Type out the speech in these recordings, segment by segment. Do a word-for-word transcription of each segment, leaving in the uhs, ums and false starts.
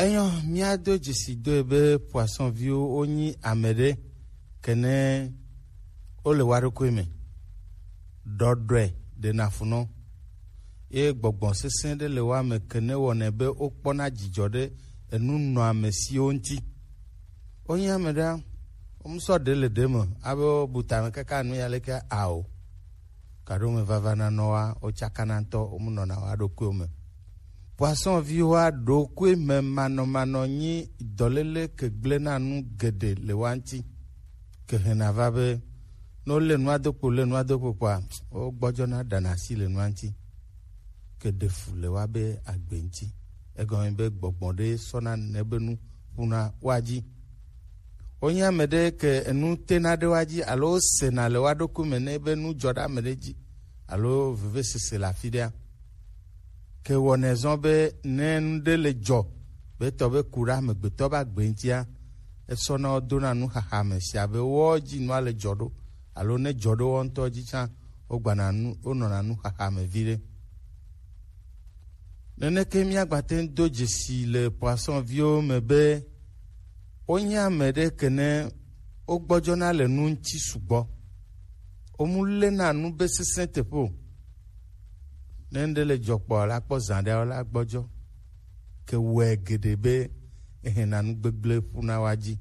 Enyo, míado dzesi doe be poisson viwo wonyi ame ɖe kene wole wa ɖokui me. Ɖɔɖɔe ɖena fu nɔ. Ye gbɔgbɔ sesẽ ɖe le wa me kene wɔnɛ be wokpɔna dzidzɔ ɖe enu nɔ ame siwo ŋuti. Wonyi ame ɖe, womusɔ ɖe le ɖe me, abe wobu tame kaka nu ya leke ao. Kaɖo me vava na nɔ wa, wotsakana ŋutɔ, womunɔna wa ɖokuiwo me. Poisson viwo wa ɖokui me manɔmanɔ nyi dɔléle ke gblẽna nu geɖe le wa ŋuti. Ke hɛna va be, ne wolé nua do kpo, lé nua do kpo kpoa, wogbɔdzɔna ɖana asi le nua ŋuti. Ke ɖe fu le wa be agbe ŋuti. Egɔme be gbɔgbɔ ɖe sɔna nene be nu ƒuna wa dzi. Wonye ame ɖe ke enu tena ɖe wa dzi alo wosena le wa ɖokui me ne be nu dzɔ ɖe ame ɖe dzi alo vevesese le afi ɖea. Ke wɔnɛ zɔ be ne nu ɖe le dzɔ, be tɔ be ku ɖe amegbetɔ be agbe ŋutia, esɔna wo dona nuxaxa me si abe wɔ dzi nua le dzɔ ɖo alo ne dzɔ ɖo wɔ ŋutɔ dzi tsã, wogbana nu, wonɔna nuxaxa me viɖe. Neneke míagbate ŋu do dzesi le poisson viwo me be wonye ame ɖe kene wogbɔdzɔna le nu ŋuti sugbɔ. Womu lena nu be sesẽ teƒe o. Ne ŋɖe le dzɔ kpɔ la kpɔ zã ɖe la gbɔdzɔ. Ke wɔe geɖe be ehena nu gbegblẽ ƒuna wa dzi.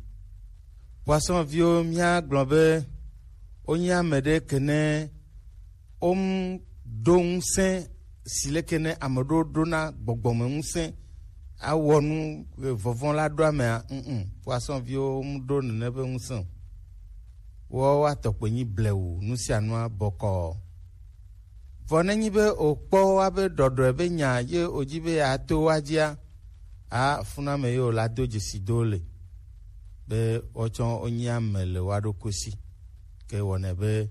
Poisson viwo míagblɔ be wonye ame ɖe kene wom ɖo ŋusẽ si leke ne ame ɖewo ɖona gbɔgbɔme ŋusẽ awɔ nu, e, vɔvɔ̃ la ɖo amea, mm, poisson viwo wom ɖo nene be ŋusẽ o. Woawo atɔ kpe nyi blewu nu sia nua bɔkɔɔ. Vɔ nenyi be òkpɔ wa be ɖɔɖɔe be nya ye òdzi be yeato wa dzia, a funa me ye wòla do dzesi do le be woatsɔ wonyi ame le wa ɖokui si. Ke wɔnɛ be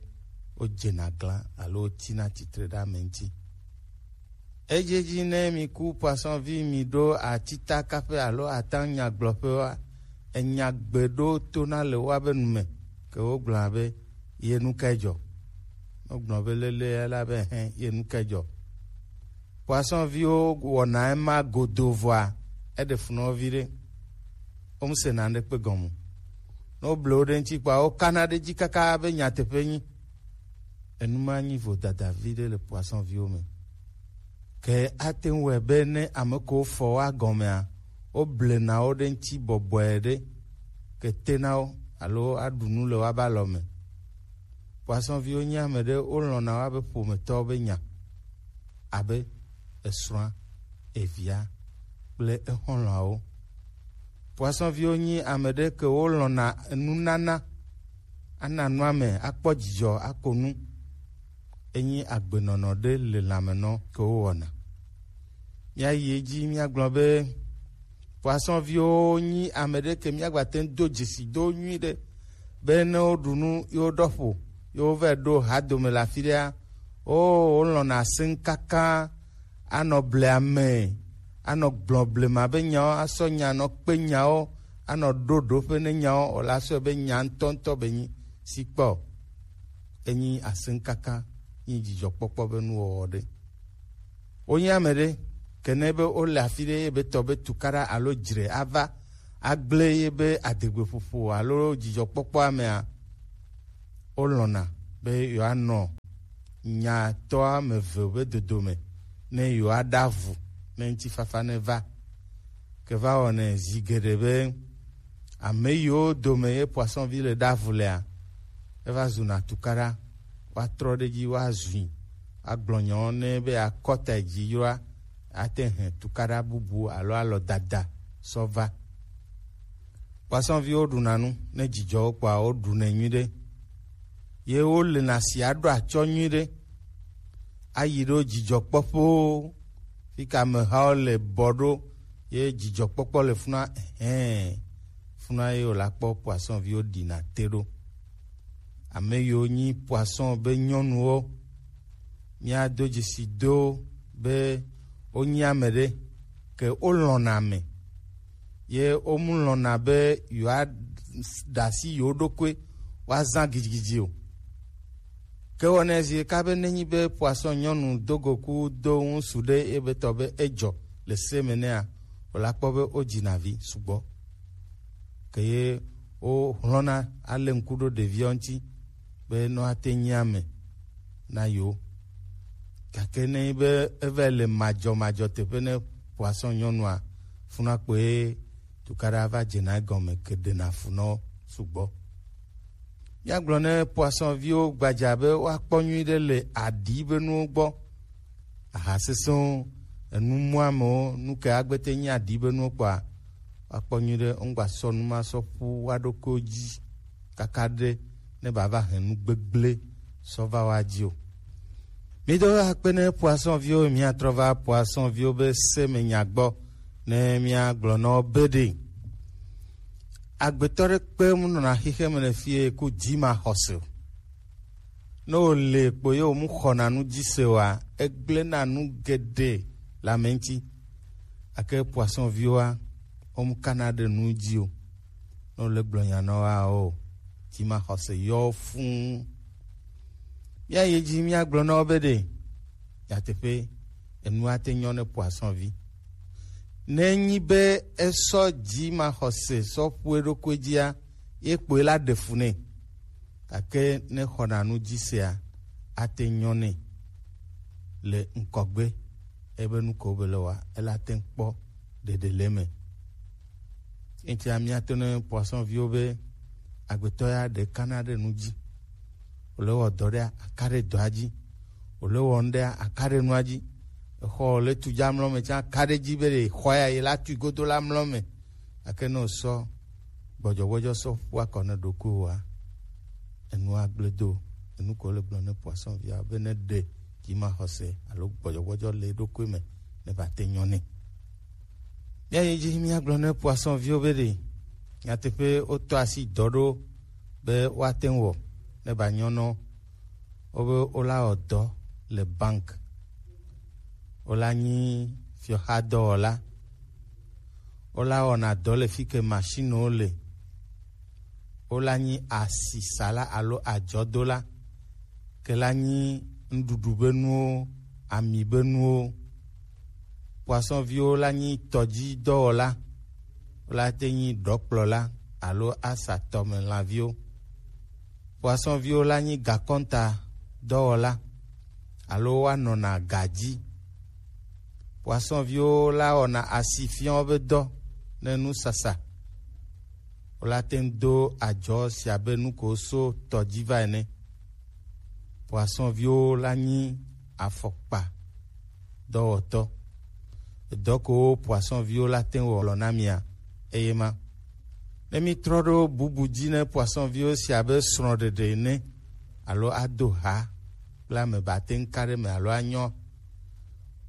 wodzena glã alo wotina tsitre ɖe ame ŋuti. Edzi edzi ne mi ku poisson vi mi ɖo atitakaƒe alo atã nyagblɔƒe wa, enya gbe ɖo tona le woabe nu me, ke wogblɔna be, ye nu kae dzɔ? Wogblɔ be lele la be hẽ, ye nu kae dzɔ? Poisson viwo wɔna ema godo vɔa, eɖe fu nɔ viɖe. Womesena ŋɖekpe gɔme o. Ne woble wo ɖe ŋuti kpɔa, wokana ɖe edzi kaka be nyateƒe nyi. Enu ma nyi vodada viɖe le poisson viwo me. Ke ate ŋu wɔe be ne ame kewo fɔ woa gɔmea, woblena wo ɖe ŋuti bɔbɔe ɖe, ke tena wo alo aɖu nu le woabe alɔ me. Poisson viwo nye ame ɖe wolɔ̃na woabe ƒometɔwo be nya, abe esrɔ̃a, evia kple exɔlɔ̃awo. Poisson viwo nye ame ɖe ke wolɔ̃na nunana, ana nua me, akpɔ dzidzɔ, ako nu. Enyi agbenɔnɔ ɖe le lãmenɔ ke wowɔna. Míayi edzi míagblɔ be poisson viwo nyi ame ɖe ke míagbate ŋu do dzesi do nyui ɖe be ne woɖu nu ye woɖɔ ƒo ye wova ɖo ha dome le afi ɖea, o wolɔ̃na asẽŋ kaka anɔ ble ame, anɔ gblɔ blema be nyawo, asɔ nya nɔ kpe nyawo, anɔ ɖo ɖoƒe ne nyawo, o la sɔe be nya ŋutɔŋutɔ be nyi si kpɔ. Enyi asẽŋkaka, nyi dzidzɔkpɔkpɔ be nuwɔwɔ ɖe. Wonye ame ɖe, ke ne be wole afi ɖe ye be tɔ be tukaɖa alo dzre ava agblẽ ye be adegbeƒoƒo alo dzidzɔkpɔkpɔ amea, wolɔ̃na be yewoanɔ nyatɔ ame eve be dodome ne yewoaɖe avu ne ŋutifafa neva. Ke va wɔnɛ zi geɖe be ame yiwo dome ye poisson vi le ɖe avu lea, eva zuna tukaɖa, woatrɔ ɖe edzi, woazui, agblɔ nyawo nɛ be akɔta dzi yroa, ate hẽ tukaɖa bubu alo alɔ dada sɔ va. Poisson viwo ɖuna nu, ne dzidzɔ wo kpɔa, woɖunɛ nyuiɖe. Ye wolena si aɖo atsɔ nyuiɖe. Ayi ɖo dzidzɔkpɔƒewo, fi ke amehawo le bɔ ɖo, ye dzidzɔkpɔkpɔ le funa, hɛn, funa ye wòla kpɔ poisson viwo ɖina te ɖo. Ame yiwo nyi poisson be nyɔnuwo, míado dzesi do be wonyi ame ɖe, ke wolɔ̃na ame. Ye womu lɔ̃na be yewoaɖe asi yewo ɖokui woazã gidigidi o. Ke wɔnɛ zi ɖeka be nenyi be poisson nyɔnu do go ku do ŋusu ɖe ebe tɔ be edzɔ le se me nɛa, Wòla kpɔ be wodzi na vi sugbɔ. Ke ye wohlɔ̃na alé ŋku ɖo ɖeviawo ŋuti be ne woate nyi ame na yewo. Gake ne enyi be eva le madzɔmadzɔ teƒe ne poisson nyɔnua, funua kpoe tukaɖa va dzena egɔme ke ɖena funɔ sugbɔ. Míagblɔ ne poisson viwo gbadza be woakpɔ nyuiɖe le aɖi be nuwo gbɔ. Aha sesẽwo, enu muamewo, nu ke agbete nyi aɖi be nuwo kpɔa, woakpɔ nyuiɖe, womgba sɔ nu ma sɔ ƒu woa ɖokuiwo dzi kaka ɖe ne bava hɛn nu gbegblẽ sɔ va woa dzi o. Mído akpe ne poisson viwo, míatrɔ va poisson viwo be se me nya gbɔ ne míagblɔ na wo be ɖe. Agbetɔ ɖe kpe mu nɔna xexe me le fie ku dzi ma xɔse o. Ne wòle kpo ye wòmu xɔna nu dzi se oa, egblẽna nu geɖe le ame ŋuti. Gake poisson viwoa, womu kana ɖe nu dzi o. Ne wòle gblɔ nya na woa o, dzimaxɔse yɔ wo fũu. Míayi edzi míagblɔ na wo be ɖe nyateƒe enua te nyɔ ne poisson vi. Ne enyi be esɔ dzimaxɔse sɔ ƒu eɖokui dzia, ye kpoe la ɖe fu nɛ. Gake ne xɔna nu dzi sea, ate nyɔ nɛ le ŋkɔgbe. Ebe nu ko be le wa, ela te kpɔ ɖeɖe le me. Etia míato ne poisson viwo be agbetɔ ya ɖe kana ɖe nu dzi. Wòle wɔ dɔ ɖe aka ɖe dɔa dzi. Wòle wɔ nu ɖe aka ɖe nua dzi. Exɔ le tu dza mlɔ me tsã aka ɖe dzi be ɖe xɔ ya yi la tui godo la mlɔ me. Gake ne wòsɔ gbɔdzɔgbɔdzɔ sɔ ƒu akɔ ne ɖokuiwòa, enua gblẽ do. Enu ko le gblɔ ne poisson via be ne ɖe dzimaxɔse alo gbɔdzɔgbɔdzɔ le eɖokui me ne va te nyɔ nɛ. Míayi dzi míagblɔ ne poisson viwo be ɖe nyateƒe wotɔ asi dɔ ɖo be woate ŋu wɔ ne ba nyɔ nɔ wobe wola wɔ dɔ le bank. Wola nyi fiɔxadɔwɔla. Wola wɔna dɔ le fi ke machine wo le. Wola nyi asisala alo adzɔdola. Ke la nyi nuɖuɖu be nuwo, ami be nuwo. Poisson viwo la nyi tɔdzidɔwɔla. Wola te nyi ɖɔkplɔla alo asa tɔmelãviwo. Poisson viwo la nyi gakɔnta dɔwɔla alo woanɔna ga dzi. Poisson viwo la wɔna asifiɔ be dɔ ne nusasa. Wola te ŋu do adzɔ sia be nu ko so tɔ dzi va ene. Poisson viwo la nyi afɔkpa dɔwɔtɔ. Edɔ ko poisson viwo la te ŋu wɔ lɔ na mia, eye ma. Ne mi trɔ ɖo bubu dzi ne poisson viwo sia be srɔ̃ɖeɖe ene alo ado ha kple ame ba te ŋu ka ɖe me alo anyɔ.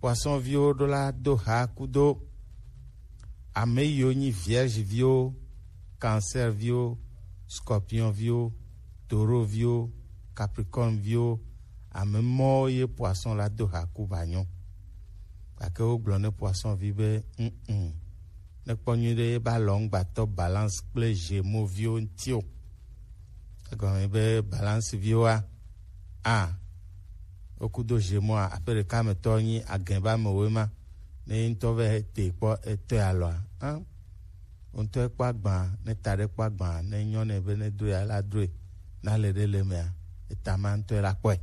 Poisson viwo ɖo la do ha kudo ame yiwo nyi vierge viwo, cancer viwo, scorpion viwo, taureau viwo, capricorne viwo, ame mɔwo ye poisson la do ha ku ba nyɔ. Gake wogblɔ ne poisson vi be, mm, ne kpɔ nyuiɖe ye ba lɔ ŋgbatɔ balance kple gémeaux viwo ŋuti o. Egɔme be balance viwoa, a, wokudo gémeaux a, aƒe ɖeka me tɔ nyi agɛ ba me woe ma. Ne ŋutɔ vɛ te kpɔ etɔe alɔa, a, ŋutɔ kpɔ agba, ne ta ɖe kpɔ agba, ne nyɔ ne be ne do ya la doe, na le ɖe le mea, eta ma ŋutɔ la kpɔe.